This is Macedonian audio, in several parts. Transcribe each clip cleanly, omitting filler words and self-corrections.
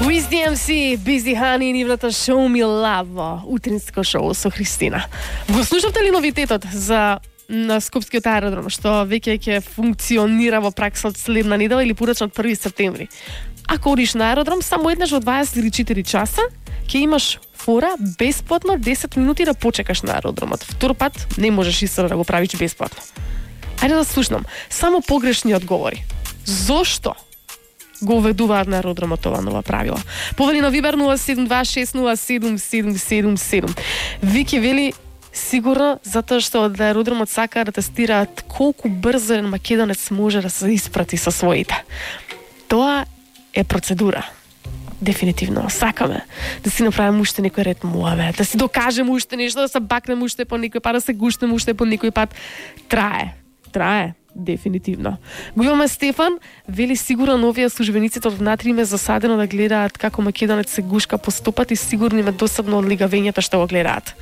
Wiz DMC, Busy Honey, нивната Show Me Love, утринско шоу со Христина. Го слушавте ли новитетот за на Скопскиот аеродром, што веќе ќе функционира во пракса од следна недела или порачно од 1 септември? Ако одиш на аеродром, само еднаш во 24 часа ќе имаш фора бесплатно 10 минути да почекаш на аеродромот. Втор пат не можеш исто да го правиш бесплатно. Ајде да слушнам само погрешни одговори. Зошто го уведуваат на аеродромот ова нова правила? Повели на Вибер 072607777. Вики вели сигурно затоа што од аеродромот сакаат да тестираат колку брзо еден македонец може да се испрати со своите. Тоа е процедура. Дефинитивно сакаме да си направиме уште некој ред муаве, да си докажеме уште нешто, да се бакнеме уште по некој пат, да се гушнеме уште по некој пат. Трае. Дефинитивно. Го имаме Стефан, вели сигурно овие службениците од внатре им е засадено да гледаат како македонец се гушка по стопат и сигурно им е досадно од лигавењето што го гледаат.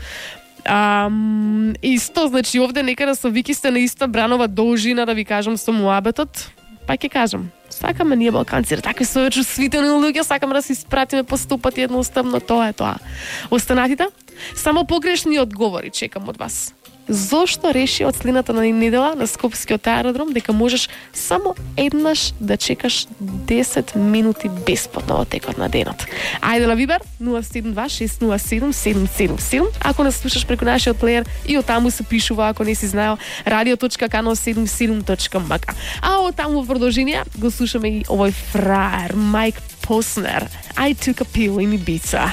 Исто, значи овде некаде со Вики сте на иста бранова должина, да ви кажам, со муабетот, па ќе кажам. Сакаме ние балканци, такви со чувствителни луѓе, сакаме да се испратиме по стопат едноставно, тоа е тоа. Останатите, само погрешни одговори чекам од вас. Зошто реши од следната недела на Скопскиот аеродром дека можеш само еднаш да чекаш 10 минути бесплатно во текот на денот? Ајде на Вибер 072607777. Ако не слушаш преку нашиот плеер и од таму се пишува, ако не си знаел, radio.kano77.mk. А од таму во продолжение го слушаме и овој фраер Майк Поснер. I took a pill in Ibiza.